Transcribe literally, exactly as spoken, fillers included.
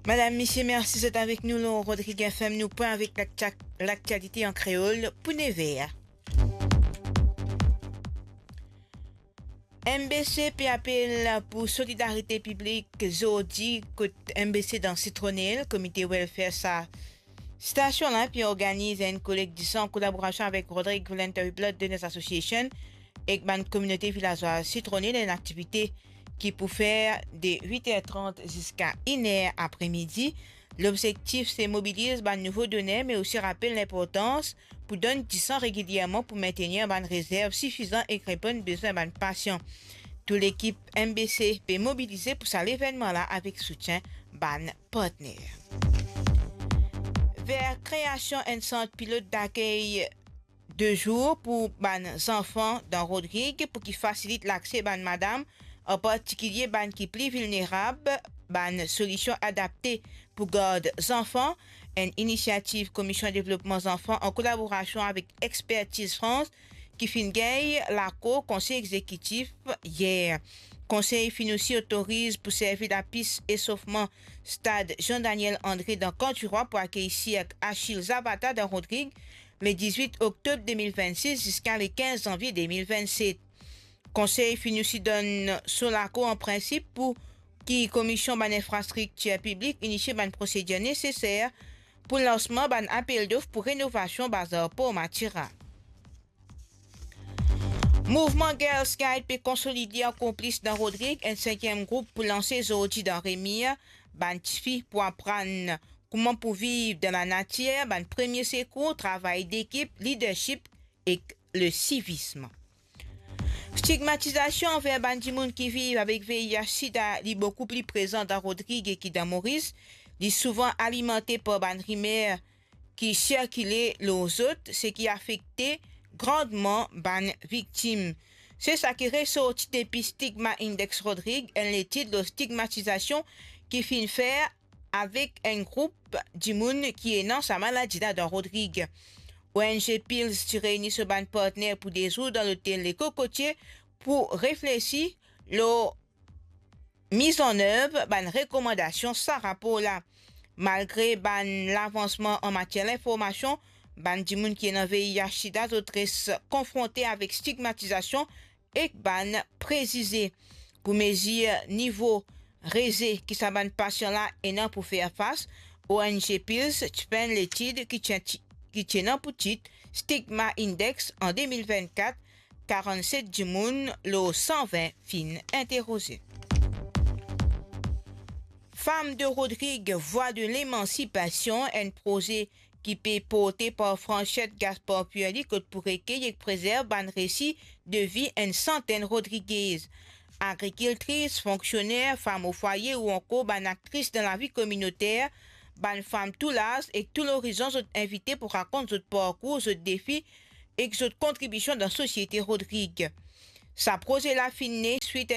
Madam, misie, mersi zot avek nou lor Rodrig F M. Nou pran avek laktia-, laktialite an kreol pou nev er. M B C pe apel pou solidarite piblik zordi kot M B C dan Sitronel, Komite Welfare sa stasion la pe organiz enn kolek disan an kolaborasion avek Rodrig Voluntary Blood Donors Association ek bann kominote vilazwa Sitronel, enn aktivite ki pou fer de wit er trant ziska enn er apremidi. Lobzektif se mobiliz bann nouvo doner, me osi rapel linportans pou donn disan regilierman pou mintenir bann rezerv sifizan ek reponn bezwin bann pasian. Tou lekip M B C pe mobilize pou sa levennman la avek soutien bann partner. Ver kreasion enn sant pilot dakey de zour pou bann zanfan dan Rodrig pou ki fasilit lakse bann madam, an partikilie bann ki pli vilnerab, bann solision adapte pou gard zanfan, enn inisiativ Komisyon Devlopman Zanfan an kolaborasion avek Expertise France ki finn gagn lakor Konsey Egzekitif yer. Konsey finn osi otoriz pou servi lapis esofman stad Jean Daniel André dan Kan Tirwa pou akey sirk Achille Zapata dan Rodrig le dizwit oktob de mil vennsis ziska le kinz zanvie de mil vennset. Konsey finn osi donn so lakor an prinsip pou ki Komisyon bann Infrastriktir Piblik inisie bann prosedir neseser pou lansman bann apel dof pou renovasion bazar Por Matira. Mouvman Girls Guide pe konsolide ankor plis dan Rodrig, enn sinkiem group pou lanse zordi dan Remir. Bann tifi pou aprann kouma pou viv dan lanatir, bann premie sekour, travay dekip, lidersip ek le sivism. Stigmatizasion anver bann dimoun ki viv avek V I H sida, li boukou pli prezan dan Rodrig ki dan Moris. Li souvan alimante par bann rimer ki sirkile lor zot, seki afekte grandman bann viktim. Se sa ki resorti depi Stigma Index Rodrig, enn letid lor stigmatizasion ki finn fer avek enn group dimoun ki ena sa maladi la dan Rodrig. O N G Pils ti reyni so bann partner pou de zour dan lotel Le Cocotier pou reflesi lor mizannev bann rekomandasion sa rapor la. Malgre bann lavansman an matier linformasion, bann dimoun ki ena V I H sida, zot res konfronte avek stigmatizasion ek bann prezize. Pou mezir nivo reze ki sa bann pasian la ena pou fer fas, O N G Pils ti fer enn letid ki ti, ki ti ena pou tit Stigma Index an de mil vennkat, karannset dimoun lor san vin finn interoze. Femme de Rodrigue, voix de l'émancipation, enn proze ki pe porte par Franchette Gaspard Pierre, li kot pou rekey ek prezerv bann resi de vi enn santenn Rodrigez. Agrikiltris, fonksioner, fam o fwaye ou ankor bann aktris dan lavi kominoter, bann fam tou laz ek tou lorizon, zot invite pou rakont zot parkour, zot defi ek zot kontribision dan sosiete Rodrig. Sa proze la finn ne swit